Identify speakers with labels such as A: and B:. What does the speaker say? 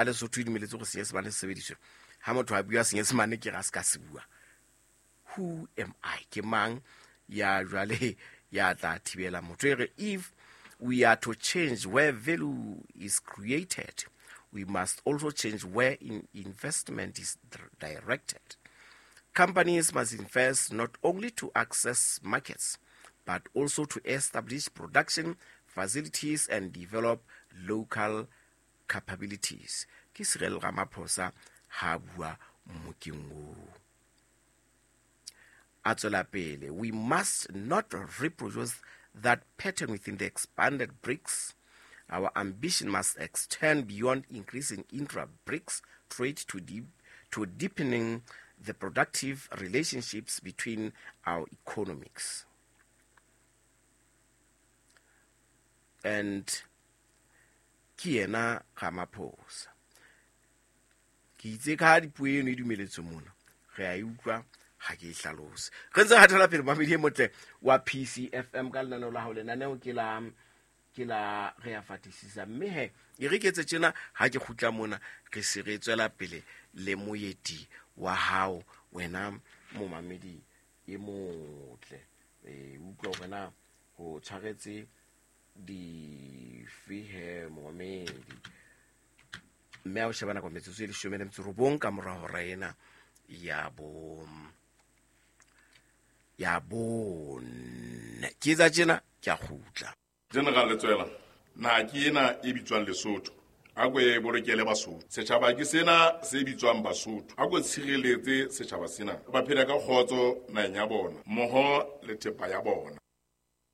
A: Lesotho e dumeletse go Senyesemane se sebediswe. Ha motho a bua Senyesemane ke ga se ka se bua. Who am I? Ke mang ya jwale ya tla thibela motho? E re if we are to change where value is created, we must also change where in investment is directed. Companies must invest not only to access markets, but also to establish production facilities and develop local capabilities. Ke Cyril Ramaphosa ha bua mmokeng oo. A tswela pele, we must not reproduce that pattern within the expanded BRICS. Our ambition must extend beyond increasing intra-BRICS trade to deepening the productive relationships between our economies. And ke yena Ramaphosa. Ke itse ka dipuo eno e dumeletswe mona, re a e utlwa, ha ke e hlalose. Re ntse re hatela pele, mamedi e motle wa PCFM ka lenaneo la hao. Lenaneo ke la re a fatisisa, mme he e re ke etse tjena, ha ke kgutla mona re se re tswela pele le moeti wa hao, wena momamedi e motle. E utlwa hore na ho tshwaretse dife he momamedi, mme a o sheba nako metsotso e 19 ka mora hora ena ya 4. Ke etsa tjena, ke a kgutla.
B: General Letsoela, naha ke ena e bitswang Lesotho, a ko e bolokele Basotho. Setjhaba ke sena se bitswang Basotho, a ko tshireletse setjhaba sena, ba phela ka kgotso naheng ya bona mmoho le thepa ya bona.